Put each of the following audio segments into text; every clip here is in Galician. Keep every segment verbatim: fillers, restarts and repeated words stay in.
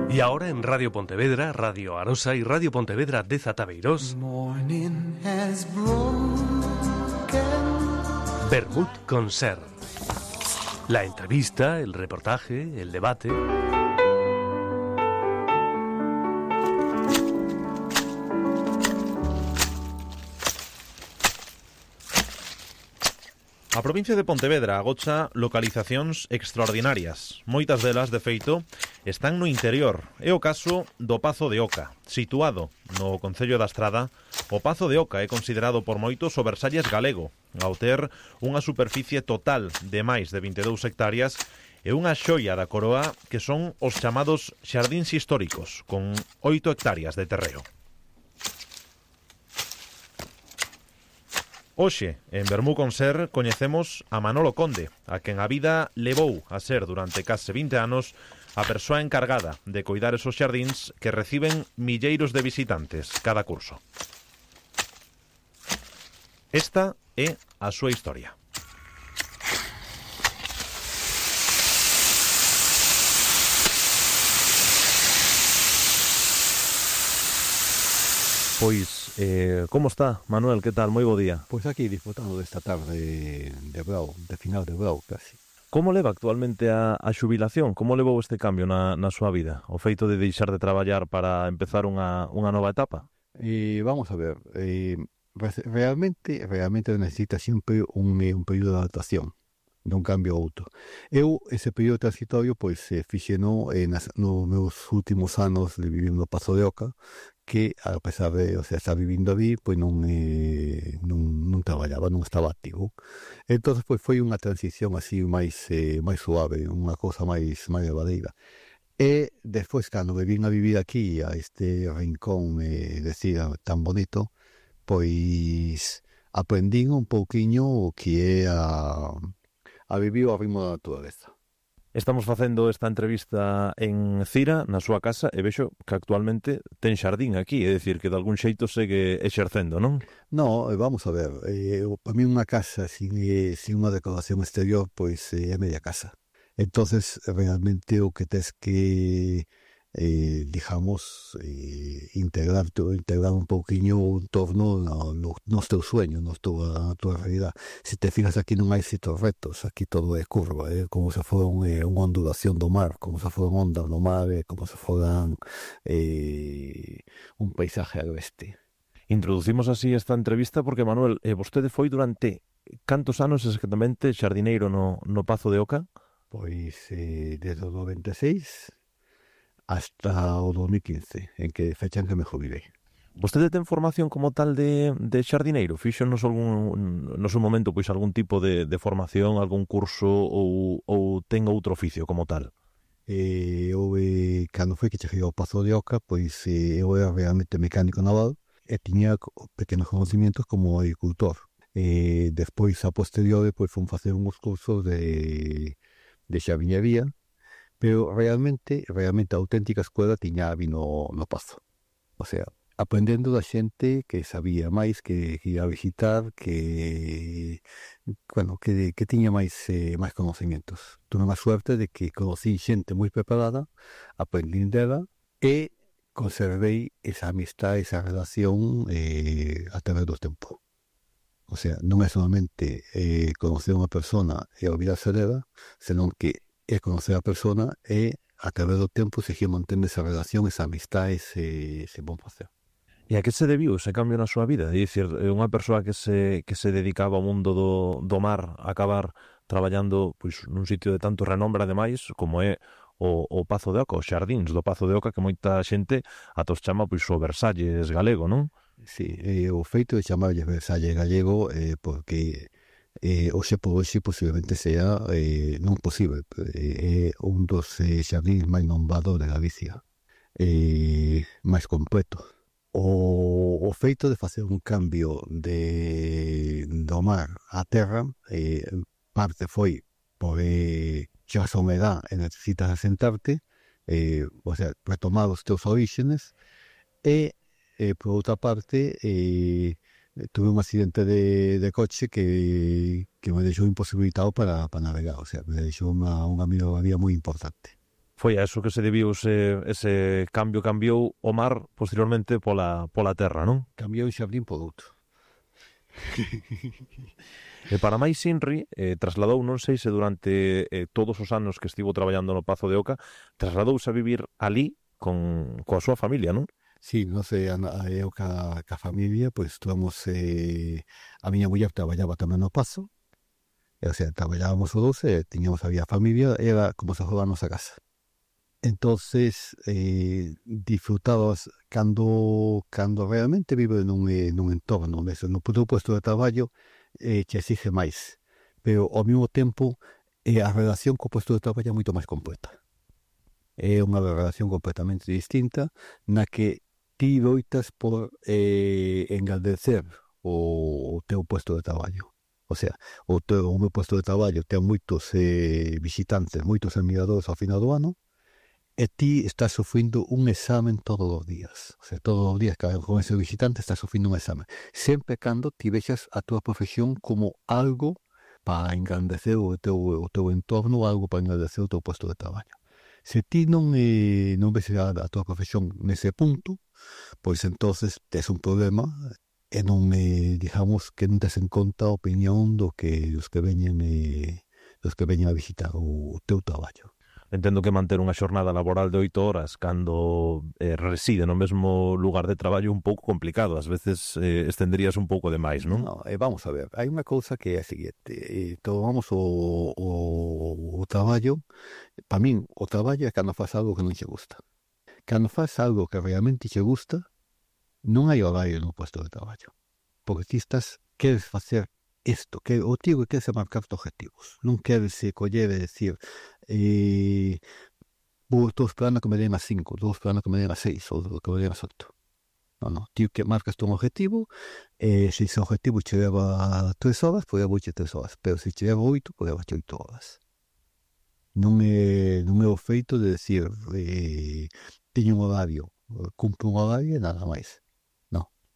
Y ahora en Radio Pontevedra, Radio Arosa y Radio Pontevedra de Zatabeirós, Vermut con Ser. La entrevista, el reportaje, el debate. A provincia de Pontevedra agocha localizacións extraordinarias. Moitas delas, de feito, están no interior. É o caso do Pazo de Oca. Situado no concello da Estrada, o Pazo de Oca é considerado por moitos o Versalles galego, ao ter unha superficie total de máis de vinte e dous hectáreas e unha xoia da coroa que son os chamados xardíns históricos, con oito hectáreas de terreo. Hoxe, en Vermú con Ser, coñecemos a Manolo Conde, a quen a vida levou a ser durante case vinte anos a persoa encargada de coidar esos xardíns que reciben milleiros de visitantes cada curso. Esta é a súa historia. Pois, eh, como está, Manuel? Que tal? Moi bo día. Pois aquí disfrutando desta tarde de brao, de final de brao casi. Como leva actualmente a, a xubilación? Como levou este cambio na, na súa vida? O feito de deixar de traballar para empezar unha, unha nova etapa? E vamos a ver, eh, realmente realmente necesita sempre un, un período de adaptación dun cambio a outro. Eu, ese período transitorio, pois, eh, fixeno eh, nas, nos meus últimos anos de vivir no Pazo de Oca, que, a pesar de, o sea, estar vivindo ali, pois non, eh, non, non traballaba, non estaba activo. Entón, pois, foi unha transición así máis, eh, máis suave, unha cousa máis, máis levadeira. E, despois, cando me vin a vivir aquí, a este rincón, eh, decía, tan bonito, pois, aprendín un pouquiño o que é a... a vivir ao ritmo da natureza. Estamos facendo esta entrevista en Cira, na súa casa, e vexo que actualmente ten xardín aquí, é dicir, que de algún xeito segue exercendo, non? No, vamos a ver, eh, para mí unha casa sin, eh, sin unha decoración exterior, pois eh, é media casa. Entonces, realmente o que tes que, eh, digamos, eh, integrar, integrar un pouquiño o entorno no, no, nos teus sueños, nos tua, na tua realidad. Se te fijas aquí non hai sitos rectos, aquí todo é curva, eh, como se foran eh, unha ondulación do mar, como se foran ondas do mar, eh, como se foran eh, un paisaje agreste. Introducimos así esta entrevista porque, Manuel, eh, vostede foi durante cantos anos exactamente xardineiro no, no Pazo de Oca? Pois eh, desde o noventa e seis hasta o dos mil quince, en que fechan que me jubilei. Vostede ten formación como tal de, de xardineiro? Fixo nos algún, no seu momento pois algún tipo de, de formación, algún curso ou, ou ten outro oficio como tal? Eh, eu, eh, cando foi que cheguei ao Pazo de Oca, pois eh, eu era realmente mecánico naval e tiña pequenos conocimientos como agricultor. Eh, despois, a posteriori, pois fun facer uns cursos de, de xardinería, pero realmente, realmente a auténtica escuela tiña vi no, no Pazo. O sea, aprendendo da xente que sabía máis, que, que ia a visitar, que, bueno, que, que tiña máis, eh, máis conocimientos. Tuve a suerte de que conocí xente moi preparada, aprendín dela e conservei esa amistad, esa relación eh, a través do tempo. O sea, non é solamente eh, conocer unha persona e olvidarse dela, senón que é conocer a persona e a través do tempo seguir mantendo esa relación, esa amistad, ese, ese bon facer. E a que se debiu ese cambio na súa vida? É dicir, unha persoa que se, que se dedicaba ao mundo do, do mar a acabar traballando pois, nun sitio de tanto renombre ademais como é o, o Pazo de Oca, os xardíns do Pazo de Oca, que moita xente ata os chama pois, o Versalles galego, non? Sí, eh, o feito de chamarlle Versalles galego eh, porque eh, hoxe por hoxe posiblemente sea eh, non posible, é eh, un dos eh, xardíns máis nombrados de Galicia, eh, máis completo. O, o feito de facer un cambio de do mar á terra, eh, parte foi por eh, xa a humedad e necesitas asentarte, eh, o sea, retomar os teus orígenes, e eh, por outra parte eh, tuve un accidente de, de coche que, que me deixou imposibilitado para, para navegar, o sea, me deixou unha, unha melloría moi importante. Foi a eso que se debiu ese, ese cambio, cambiou o mar posteriormente pola, pola terra, non? Cambiou un xardín por outro. E para máis Inri, eh, trasladou, non sei se durante eh, todos os anos que estivo traballando no Pazo de Oca, trasladouse a vivir ali con coa súa familia, non? Sí, no sé, a, a eu ca, ca familia, pois estuvamos, eh, a miña muller traballaba tamén no Pazo, e, o sea, traballábamos os dous, e tiñamos, había familia, era como se fora a nosa casa. Entonces, eh, disfrutabas cando, cando realmente vive nun, eh, nun entorno, eso, no teu puesto de traballo, eh, que exige máis, pero ao mesmo tempo eh, a relación co puesto de traballo é moito máis completa. É unha relación completamente distinta na que ti loitas por eh, engrandecer o, o teu puesto de traballo. O sea, o, teu, o meu puesto de traballo ten moitos eh, visitantes, moitos admiradores ao final do ano, e ti estás sufrindo un examen todos os días. O sea, todos os días con ese visitante estás sufrindo un examen. Sempre cando ti vexas a tua profesión como algo para engrandecer o teu, o teu entorno, algo para engrandecer o teu puesto de traballo. Se ti non, eh, non ves a, a tua profesión nese punto, pois entonces tes un problema e non, eh, digamos, que non tes en conta a opinión do que os que veñen eh, os que veñen a visitar o, o teu traballo. Entendo que manter unha xornada laboral de oito horas cando eh, reside no mesmo lugar de traballo é un pouco complicado. Ás veces eh, estenderías un pouco demais, non? No, eh, vamos a ver, hai unha cousa que é a seguinte, eh, tomamos o, o, o traballo, para min o traballo é cando faz algo que non che gusta. Cando faz algo que realmente che gusta, non hai horario no puesto de traballo, porque ti estás, queres facer isto, que o tío que queres marcar objetivos, non queres se coller e decir eh, vou estou esperando que me den as cinco, estou esperando que me den as seis ou que me den as oito. Non, non, tío que marcas un objetivo, e se ese objetivo che leva tres horas, pois levache tres horas, pero se che leva oito, pois levache oito horas. Non é, non é o feito de decir eh, teño un horario, cumplo un horario e nada máis.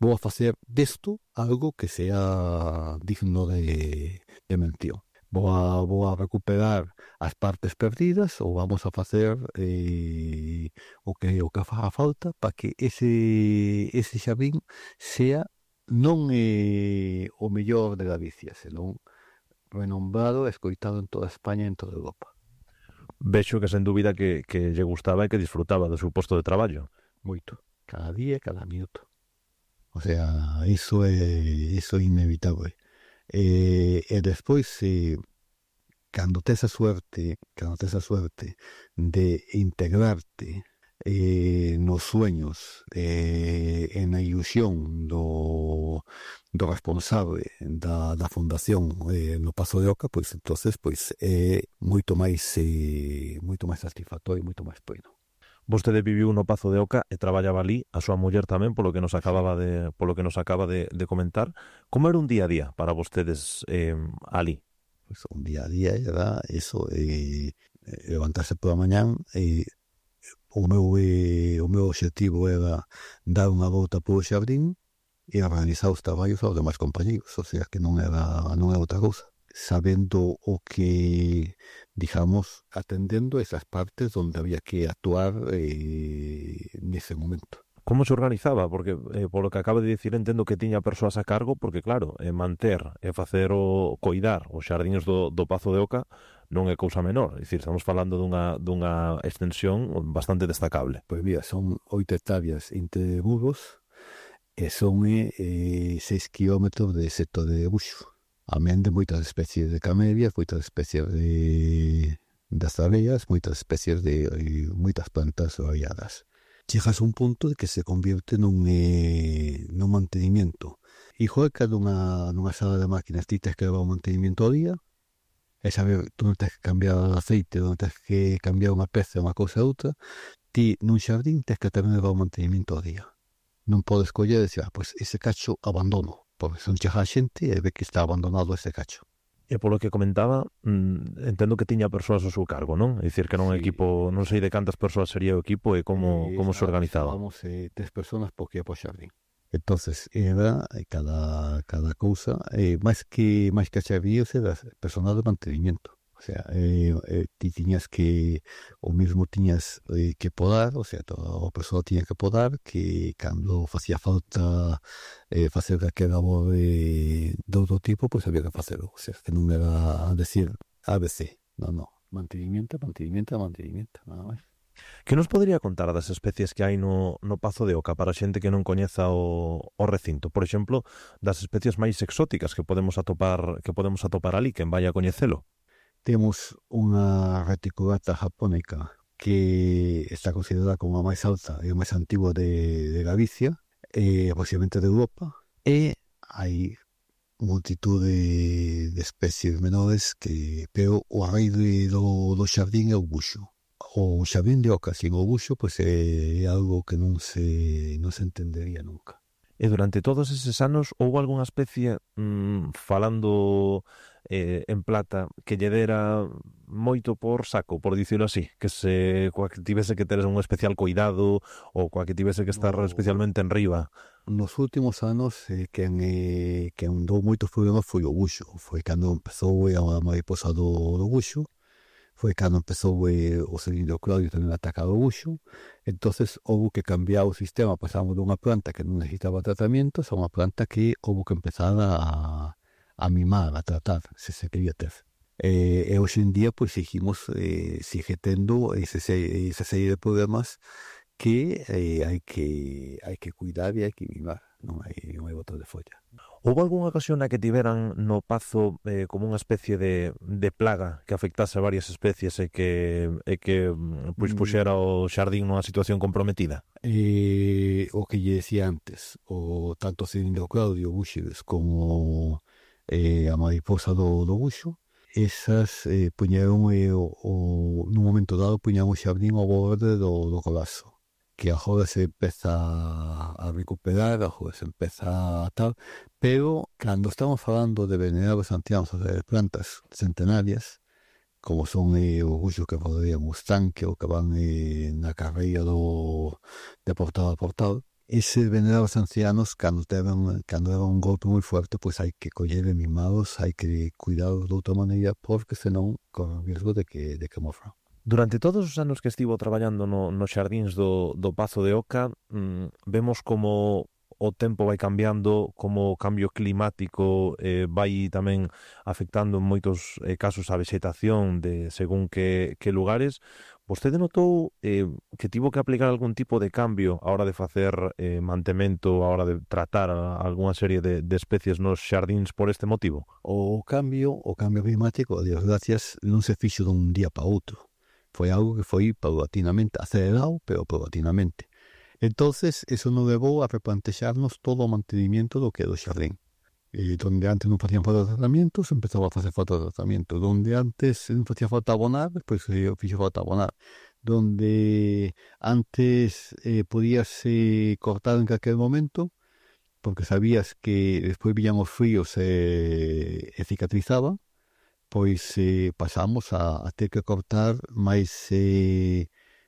Vou a facer desto algo que sea digno de, de mención. Vou a, vou a recuperar as partes perdidas ou vamos a facer eh, o que o que faga falta para que ese, ese xardín sea non eh, o mellor de Galicia, senón renombrado e escoitado en toda España e en toda Europa. Vexo que sen dúbida que, que lle gustaba e que disfrutaba do seu posto de traballo. Moito. Cada día e cada minuto. O sea, iso é, iso é inevitable. E, e despois, eh, cando tes a suerte, cando tes a suerte de integrarte eh, nos sueños eh, e na ilusión do, do responsable da, da fundación eh, no Pazo de Oca, pois entonces pois é moito máis eh, moito máis satisfactorio e moito máis pleno. Vostede viviu no Pazo de Oca e traballaba ali, a súa muller tamén, polo que nos acababa de polo que nos acaba de, de comentar. Como era un día a día para vostedes eh, ali? Pues un día a día era eso, eh, levantarse pola mañán e o meu eh, o meu obxectivo era dar unha volta polo xardín e organizar os traballos aos demais compañeros, o sea que non era non era outra cousa, sabendo o que, digamos, atendendo esas partes onde había que actuar eh, nese momento. Como se organizaba? Porque, eh, polo que acaba de dicir, entendo que tiña persoas a cargo, porque, claro, eh, manter e facer o coidar os xardíns do, do Pazo de Oca non é cousa menor. É dicir, estamos falando dunha, dunha extensión bastante destacable. Pois mira, son oito hectáreas entre burros e son eh, seis kilómetros de sector de buxo. Amén de moitas especies de camelias, moitas especies de das abellas, moitas especies de eh, moitas plantas variadas. Chegas a un punto de que se convierte nun, eh, nun mantenimiento. Hijo de cada unha, nunha sala de máquinas ti tens que levar un mantenimiento ao día, e saber, tú non tens que cambiar o aceite, non tens que cambiar unha peza, unha cousa ou outra, ti nun xardín tens que tamén levar un mantenimiento ao día. Non podes coller e decir, ah, pois ese cacho abandono, porque son chega a xente e ve que está abandonado ese cacho. E polo que comentaba, mm, entendo que tiña persoas ao seu cargo, non? É dicir, que non Sí. equipo, non sei de cantas persoas sería o equipo e como, Eh, como se organizaba. Estábamos eh, tres personas por que por xardín. Entonces era eh, cada, cada cousa, eh, máis que máis que xardín, era personal de mantenimiento. O O sea, eh, eh, ti tiñas que, o mismo tiñas eh, que podar, o sea, toda a persoa tiña que podar, que cando facía falta eh, facer aquel labor de, de outro tipo, pois pues había que facelo. O sea, que non era decir A B C, non, non, mantenimiento, mantenimiento, mantenimiento, nada máis. Que nos podería contar das especies que hai no, no Pazo de Oca para a xente que non coñeza o, o recinto? Por exemplo, das especies máis exóticas que podemos atopar que podemos atopar ali, quen vai a coñecelo. Temos unha reticulata japónica que está considerada como a máis alta e a máis antigua de, de Galicia, e posiblemente de Europa, e hai multitud de, de especies menores que, pero o rei do, do xardín é o buxo. O xardín de Oca sin o buxo pois é algo que non se non se entendería nunca. E durante todos eses anos houve algunha especie mmm, falando eh, en plata que lle dera moito por saco, por dicirlo así, que se coa que tivese que ter un especial cuidado ou coa que tivese que estar no, especialmente en riba. Nos últimos anos eh, quen, eh, quen dou moitos problemas foi o buxo. Foi cando empezou a mariposa do, do buxo, foi cando empezou eh, o cilindro Claudio tamén a atacar o buxo. Entonces houve que cambiar o sistema, pasamos dunha planta que non necesitaba tratamientos a unha planta que houve que empezar a, a mimar, a tratar, se se quería ter. E, e hoxe en día pois seguimos, eh, sigue tendo ese, esa serie de problemas que eh, hai que hai que cuidar e hai que mimar, non hai, non hai botas de folla. Houve algunha ocasión na que tiveran no Pazo eh, como unha especie de, de plaga que afectase a varias especies e que, e que pois, puxera o xardín nunha situación comprometida? Eh, o que lle decía antes, o tanto cilindro Claudio, buxes, como eh, a mariposa do, do buxo, esas eh, puñeron eh, o, o, nun momento dado puñeron o xardín ao borde do, do colapso, que agora se empeza a recuperar, agora se empeza a tal, pero cando estamos falando de venerables ancianos, de plantas centenarias, como son eh, os buxos que rodean o estanque ou que van eh, na carreira do, de portal a portal, eses venerables ancianos, cando teven, cando era un golpe moi fuerte, pois hai que coller e mimados, hai que cuidados de outra maneira, porque senón corre o risco de que, de que morran. Durante todos os anos que estivo traballando no, nos xardíns do, do Pazo de Oca, mmm, vemos como o tempo vai cambiando, como o cambio climático eh, vai tamén afectando en moitos eh, casos a vegetación de según que, que lugares. Vostede notou eh, que tivo que aplicar algún tipo de cambio a hora de facer eh, mantemento, a hora de tratar a, a algunha serie de, de especies nos xardíns por este motivo? O cambio, o cambio climático, a Dios gracias, non se fixo dun día para outro. Foi algo que foi paulatinamente, acelerado, pero paulatinamente. Entonces, eso nos levou a replantexarnos todo o mantenimiento do que é do xardín. E donde antes non facían falta tratamientos, empezaba a facer falta tratamiento. Donde antes non facía falta abonar, pois pues, fixo falta abonar. Donde antes eh, podías eh, cortar en calquer momento, porque sabías que despois viñan os fríos e eh, cicatrizaba, pois eh, pasamos a, a ter que cortar máis, eh,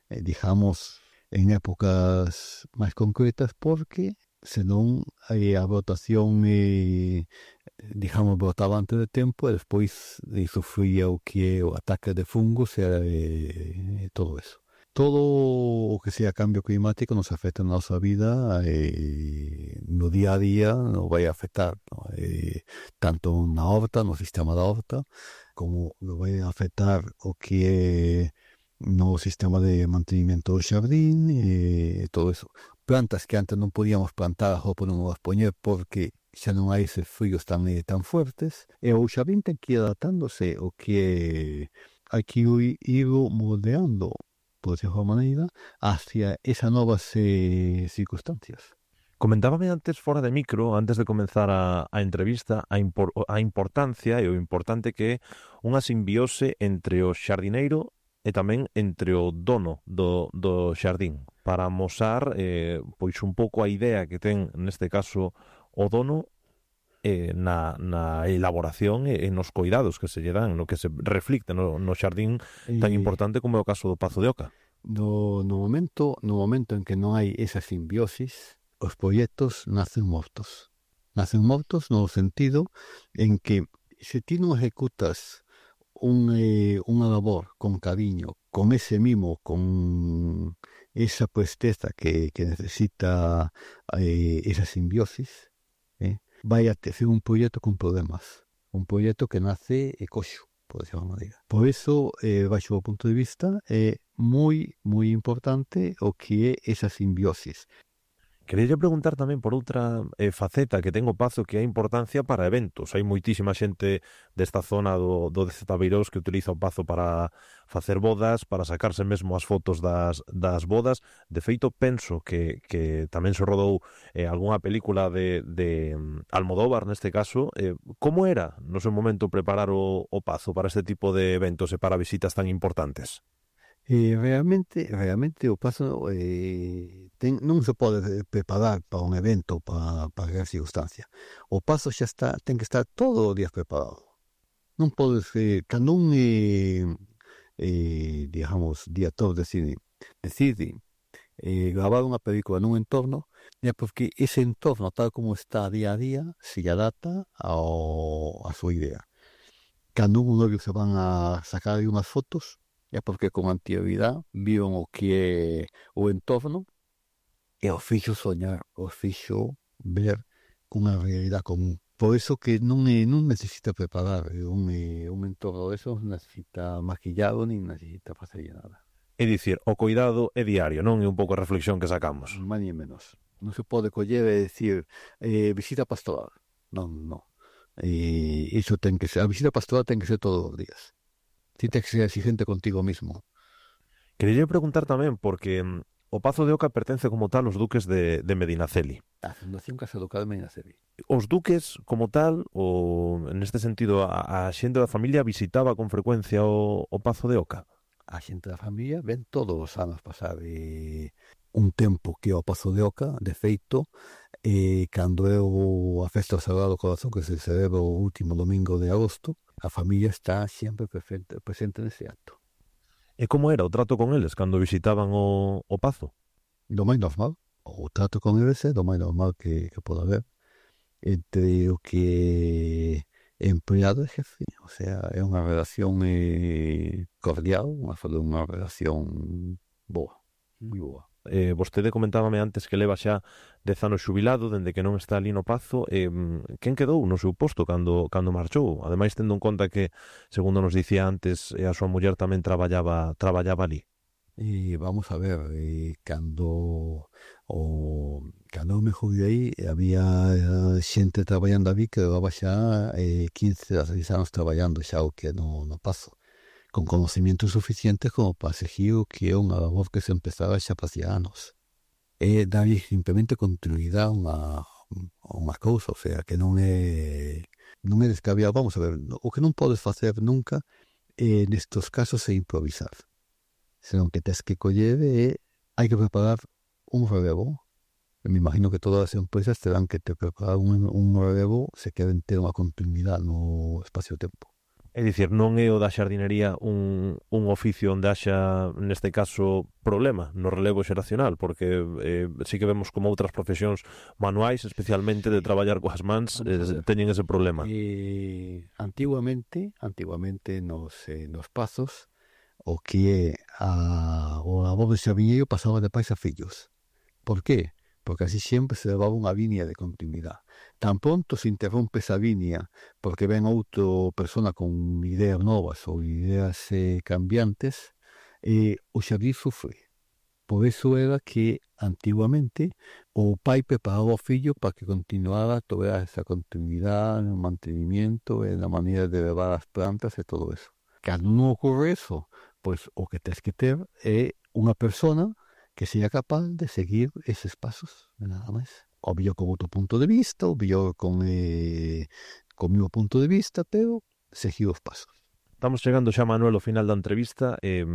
eh, digamos, en épocas máis concretas, porque senón eh, a brotación, eh, digamos, brotaba antes de tempo e despois eh, sufría o que é o ataque de fungos e eh, todo eso. Todo o que sea cambio climático nos afecta na nosa vida, eh, no día a día nos vai a afectar, ¿no? eh, tanto na horta, no sistema da horta, como nos vai a afectar o que é no sistema de mantenimiento do xardín e todo eso. Plantas que antes non podíamos plantar, ou podemos poñer porque xa non hai eses fríos tan, eh, tan fuertes, e o xardín ten que ir adaptándose o que hai que ir moldeando, por decirlo de maneira, hacia esas novas eh, circunstancias. Comentábame antes, fora de micro, antes de comenzar a, a entrevista, a, impor, a importancia e o importante que é unha simbiose entre o xardineiro e tamén entre o dono do, do xardín, para amosar eh, pois un pouco a idea que ten, neste caso, o dono eh, na, na elaboración e, e nos cuidados que se lle dan, no que se reflicte no, no xardín tan importante como é o caso do Pazo de Oca. No, no, momento, no momento en que non hai esa simbiosis, os proxectos nacen mortos. Nacen mortos no sentido en que se ti non ejecutas un, eh, unha labor con cariño, con ese mimo, con esa presteza que, que necesita eh, esa simbiosis, eh, vai a ter un proxecto con problemas, un proxecto que nace e coxo, por decirlo de maneira. Por eso, eh, baixo o punto de vista, é moi, moi importante o que é esa simbiosis. Quería preguntar tamén por outra eh, faceta que ten o Pazo, que é a importancia para eventos. Hai moitísima xente desta zona do, do de Zetabeirós que utiliza o Pazo para facer bodas, para sacarse mesmo as fotos das, das bodas. De feito, penso que, que tamén se rodou eh, algunha película de, de um, Almodóvar, neste caso. Eh, como era no seu momento preparar o, o Pazo para este tipo de eventos e para visitas tan importantes? Eh, realmente, realmente o Pazo eh, ten, non se pode preparar para un evento, para, para aquela circunstancia. O Pazo xa está, ten que estar todos os días preparado. Non podes, eh, cando un, eh, eh, digamos, director de cine decide eh, gravar unha película nun entorno, é porque ese entorno, tal como está día a día, se adapta ao, a súa idea. Cando un novio se van a sacar aí unhas fotos, é porque con anterioridade viron o que é o entorno e o fixo soñar, o fixo ver cunha realidade común. Por eso que non, é, non necesita preparar un, un entorno de esos, necesita maquillado nin necesita facer nada. É dicir, o cuidado é diario, non é un pouco a reflexión que sacamos. Máis ni menos. Non se pode coller e decir eh, visita pastoral. Non, non. E iso ten que ser, a visita pastoral ten que ser todos os días. Ti tens que ser exigente contigo mismo. Quería preguntar tamén, porque mm, o Pazo de Oca pertence como tal aos duques de, de Medinaceli. A Fundación Casa Local de Medinaceli. Os duques, como tal, ou neste sentido, a, a xente da familia visitaba con frecuencia o, o Pazo de Oca? A xente da familia ven todos os anos pasar eh, un tempo que o Pazo de Oca, de feito, eh, cando é o, a festa do Sagrado Corazón, que se celebra o último domingo de agosto, a familia está sempre presente, presente nese acto. E como era o trato con eles cando visitaban o, o Pazo? Do máis normal. O trato con eles é do máis normal que, que pode haber entre o que é empleado e jefe. O sea, é unha relación eh, cordial, unha, unha relación boa, moi boa. Eh, vostede comentábame antes que leva xa dez anos xubilado, dende que non está ali no Pazo. Eh, quen quedou no seu posto cando, cando marchou? Ademais, tendo en conta que, segundo nos dicía antes, a súa muller tamén traballaba, traballaba ali. E vamos a ver, eh, cando o cando me jubilei había xente traballando ali que levaba xa eh, quince a seis anos traballando xa o que no, no Pazo, con conocimientos suficientes como para seguir o que é unha labor que se empezaba xa facía anos. É darlle simplemente continuidade a unha, a unha cousa, o sea, que non é non é descabellado. Vamos a ver, o que non podes facer nunca eh, nestos casos é improvisar, senón que tens que coller e hai que preparar un relevo. Me imagino que todas as empresas terán que te preparar un, un relevo se queren ter unha continuidade no espacio-tempo. É dicir, non é o da xardinería un, un oficio onde haxa, neste caso, problema no relevo xeracional, porque eh, sí que vemos como outras profesións manuais, especialmente de traballar coas mans, eh, teñen ese problema. E, antiguamente, antiguamente nos, eh, nos Pazos, o que é a, o labor de xardineiro pasaba de pais a fillos. Por qué? Porque así sempre se levaba unha línea de continuidade. Tan pronto se interrompe esa línea porque ven outra persona con ideas novas ou ideas eh, cambiantes, eh, o xardín sufre. Por eso era que antiguamente o pai preparaba o fillo para que continuara toda esa continuidade no mantenimiento e na maneira de levar as plantas e todo eso. Cando non ocorre eso, pois o que tens que ter é unha persona que sea capaz de seguir eses pasos, nada máis. Obvio con outro punto de vista, obvio con, eh, con o meu punto de vista, pero seguir os pasos. Estamos chegando xa, Manuel, ao final da entrevista. Eh,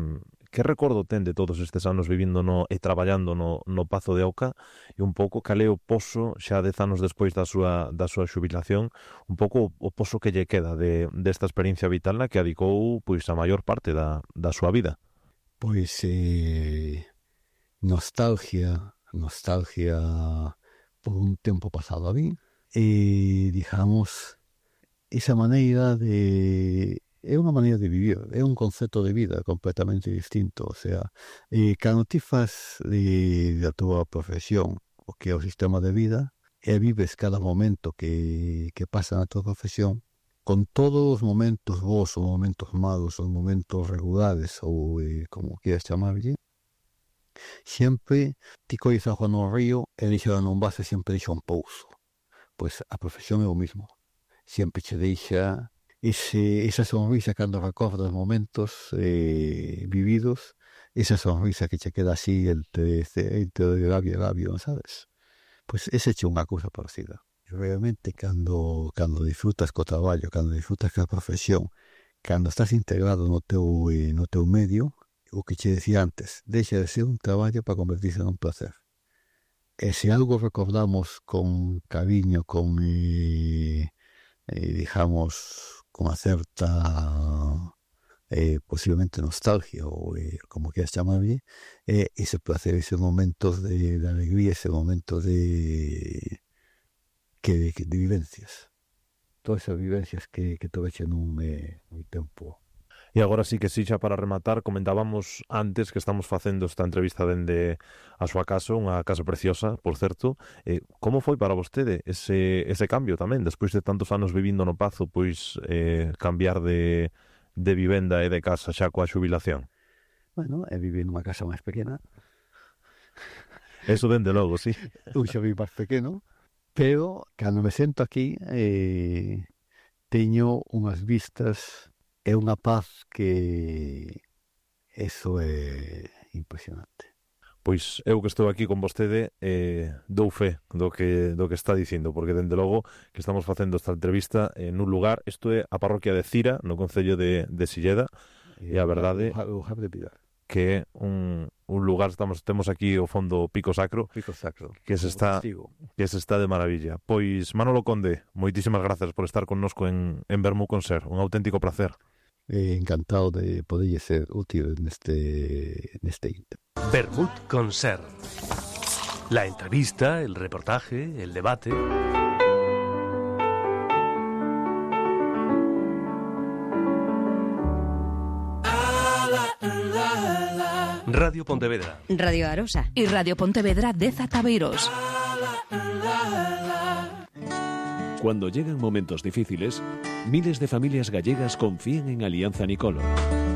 que recordo ten de todos estes anos vivindo no, e traballando no, no Pazo de Oca, e un pouco cal é o poso, xa dez anos despois da súa, da súa xubilación, un pouco o poso que lle queda de, desta experiencia vital na que adicou pois, a maior parte da, da súa vida? Pois... Eh... nostalgia, nostalgia por un tempo pasado ali e, digamos, esa maneira de é unha maneira de vivir, é un concepto de vida completamente distinto. O sea, eh, cando ti faz de, da túa profesión o que é o sistema de vida, e vives cada momento que, que pasa na túa profesión, con todos os momentos bons, os momentos malos, os momentos regulares, ou eh, como quieras chamarlle, sempre ti colles agua no río e deixa non vaso, sempre deixa un pouso. Pois a profesión é o mismo. Sempre che deixa ese, esa sonrisa cando recordas momentos eh, vividos, esa sonrisa que che queda así entre, entre labio e labio, sabes? Pois ese che unha cousa parecida. Realmente, cando, cando disfrutas co traballo, cando disfrutas ca profesión, cando estás integrado no teu, eh, no teu medio, o que che decía antes, deixa de ser un traballo para convertirse nun placer. E se algo recordamos con cariño, con, eh, eh, digamos, con unha certa eh, posiblemente nostalgia ou eh, como quieras chamarlle, eh, ese placer, esos momentos de, de alegría, ese momento de, que, de, de vivencias, todas esas vivencias que, que tuveche nun, eh, un tempo. E agora sí que sí, xa para rematar, comentábamos antes que estamos facendo esta entrevista dende a súa casa, unha casa preciosa, por certo. Eh, como foi para vostede ese, ese cambio tamén, despois de tantos anos vivindo no Pazo, pois eh, cambiar de, de vivenda e de casa xa coa xubilación? Bueno, é vivir nunha casa máis pequena. Eso dende logo, sí. Un xa vivo máis pequeno, pero cando me sento aquí eh, teño unhas vistas... É unha paz que eso é impresionante. Pois eu que estou aquí con vostede eh, dou fe do que, do que está dicindo, porque dende logo que estamos facendo esta entrevista en un lugar, isto é a parroquia de Cira, no concello de, de Silleda, e a verdade que é un, un lugar, estamos temos aquí ao fondo Pico Sacro, Pico Sacro que se está que se está de maravilla. Pois Manolo Conde, moitísimas grazas por estar connosco en, en Vermú con Ser, un auténtico placer. Eh, encantado de poder ser útil neste neste inter. Vermut con Ser. La entrevista, el reportaje, el debate. Radio Pontevedra. Radio Arosa. Y Radio Pontevedra de Zataveiros. Cuando llegan momentos difíciles, miles de familias gallegas confían en Alianza Nicolo.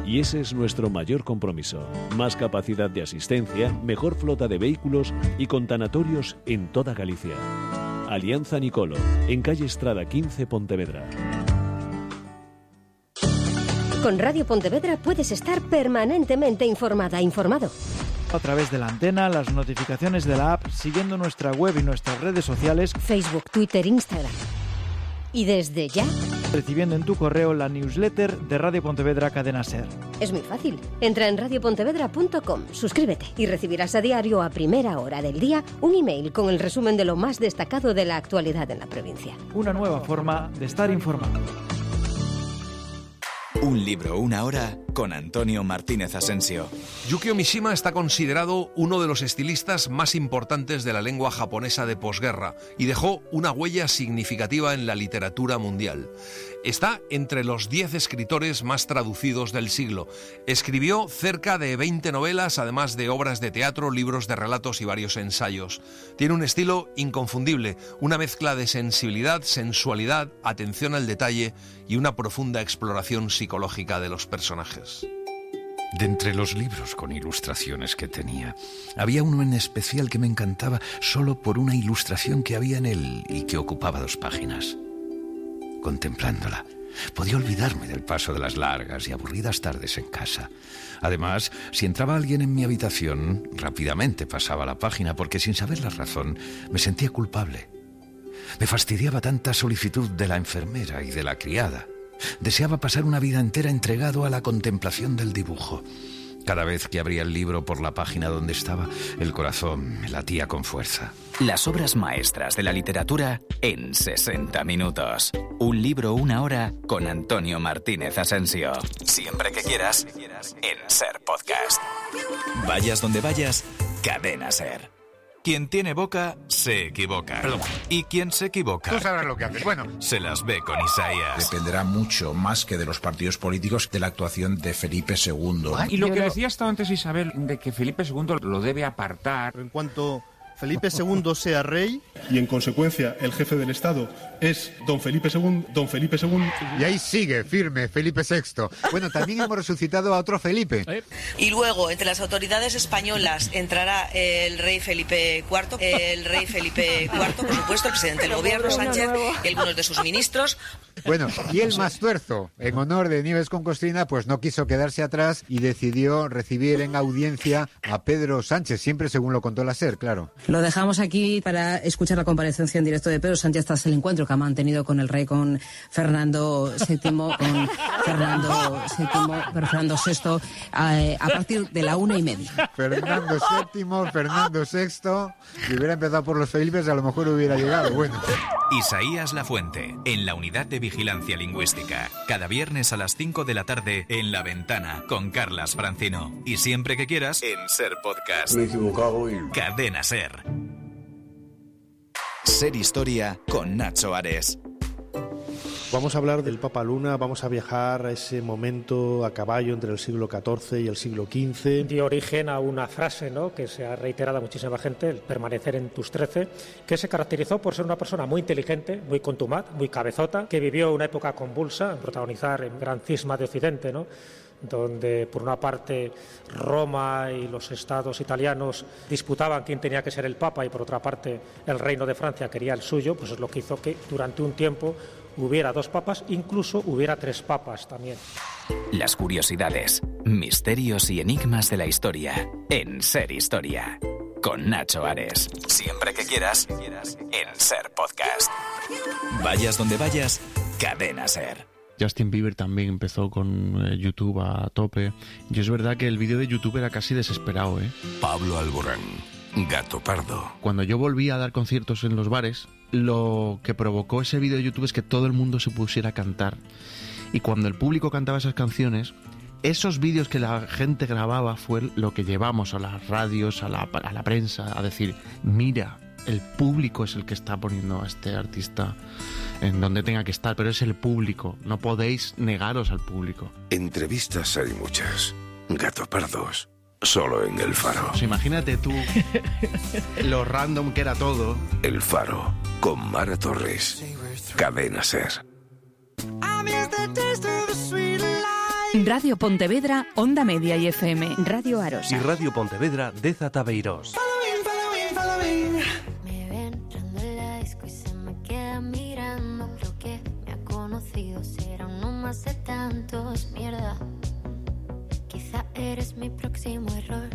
Y ese es nuestro mayor compromiso. Más capacidad de asistencia, mejor flota de vehículos y con tanatorios en toda Galicia. Alianza Nicolo, en calle Estrada quince, Pontevedra. Con Radio Pontevedra puedes estar permanentemente informada, informado. A través de la antena, las notificaciones de la app, siguiendo nuestra web y nuestras redes sociales, Facebook, Twitter, Instagram. Y desde ya, recibiendo en tu correo la newsletter de Radio Pontevedra Cadena Ser. Es muy fácil. Entra en radio pontevedra punto com, suscríbete y recibirás a diario a primera hora del día un email con el resumen de lo más destacado de la actualidad en la provincia. Una nueva forma de estar informado. Un libro, una hora, con Antonio Martínez Asensio. Yukio Mishima está considerado uno de los estilistas más importantes de la lengua japonesa de posguerra y dejó una huella significativa en la literatura mundial. Está entre los diez escritores más traducidos del siglo. Escribió cerca de veinte novelas, además de obras de teatro, libros de relatos y varios ensayos. Tiene un estilo inconfundible, una mezcla de sensibilidad, sensualidad, atención al detalle y una profunda exploración psicológica de los personajes. De entre los libros con ilustraciones que tenía, había uno en especial que me encantaba solo por una ilustración que había en él y que ocupaba dos páginas. Contemplándola, podía olvidarme del paso de las largas y aburridas tardes en casa. Además, si entraba alguien en mi habitación, rápidamente pasaba la página porque, sin saber la razón, me sentía culpable. Me fastidiaba tanta solicitud de la enfermera y de la criada. Deseaba pasar una vida entera entregado a la contemplación del dibujo. Cada vez que abría el libro por la página donde estaba, el corazón me latía con fuerza. Las obras maestras de la literatura en sesenta minutos. Un libro, una hora, con Antonio Martínez Asensio. Siempre que quieras, en Ser Podcast. Vayas donde vayas, Cadena Ser. Quien tiene boca, se equivoca. Perdón. Y quien se equivoca... Tú sabrás lo que haces. Bueno. Se las ve con Isaías. Dependerá mucho, más que de los partidos políticos, de la actuación de Felipe segundo. Y lo que decía hasta antes Isabel, de que Felipe segundo lo debe apartar. En cuanto Felipe segundo sea rey... Y en consecuencia el jefe del Estado es don Felipe segundo, don Felipe segundo... Y ahí sigue, firme, Felipe sexto. Bueno, también hemos resucitado a otro Felipe. Y luego, entre las autoridades españolas, entrará el rey Felipe cuarto, el rey Felipe cuarto, por supuesto, el presidente del gobierno, Sánchez, y algunos de sus ministros. Bueno, y el Mastuerzo, en honor de Nieves con Costrina, pues no quiso quedarse atrás y decidió recibir en audiencia a Pedro Sánchez, siempre según lo contó la SER, claro. Lo dejamos aquí para escuchar la comparecencia en directo de Pedro Sánchez tras el encuentro que ha mantenido con el rey, con Fernando séptimo, con Fernando séptimo, pero Fernando sexto, a, a partir de la una y media. Fernando séptimo, Fernando sexto, si hubiera empezado por los Felipes a lo mejor hubiera llegado, bueno. Isaías Lafuente, en la Unidad de Vigilancia Lingüística. Cada viernes a las cinco de la tarde en La Ventana con Carlas Francino. Y siempre que quieras en Ser Podcast. Me he equivocado y... Cadena Ser. Ser Historia con Nacho Ares. Vamos a hablar del Papa Luna, vamos a viajar a ese momento a caballo entre el siglo catorce y el siglo quince. Dio origen a una frase, ¿no?, que se ha reiterado a muchísima gente, el permanecer en tus trece, que se caracterizó por ser una persona muy inteligente, muy contumaz, muy cabezota, que vivió una época convulsa, protagonizar el gran cisma de Occidente, ¿no?, donde por una parte Roma y los estados italianos disputaban quién tenía que ser el Papa y por otra parte el Reino de Francia quería el suyo, pues es lo que hizo que durante un tiempo hubiera dos papas, incluso hubiera tres papas también. Las curiosidades, misterios y enigmas de la historia en Ser Historia con Nacho Ares. Siempre que quieras en Ser Podcast. Vayas donde vayas, Cadena Ser. Justin Bieber también empezó con eh, YouTube a tope. Y es verdad que el vídeo de YouTube era casi desesperado, ¿eh? Pablo Alborán, Gato Pardo. Cuando yo volví a dar conciertos en los bares, lo que provocó ese vídeo de YouTube es que todo el mundo se pusiera a cantar. Y cuando el público cantaba esas canciones, esos vídeos que la gente grababa fue lo que llevamos a las radios, a la, a la prensa, a decir, mira, el público es el que está poniendo a este artista en donde tenga que estar, pero es el público, no podéis negaros al público. Entrevistas hay muchas, Gato Pardos, solo en El Faro. Pues imagínate tú lo random que era todo. El Faro, con Mara Torres, Cadena Ser. Radio Pontevedra, Onda Media y F M. Radio Arosa. Y Radio Pontevedra, Deza Tabeirós. Será uno más de tantos, mierda. Quizá eres mi próximo error.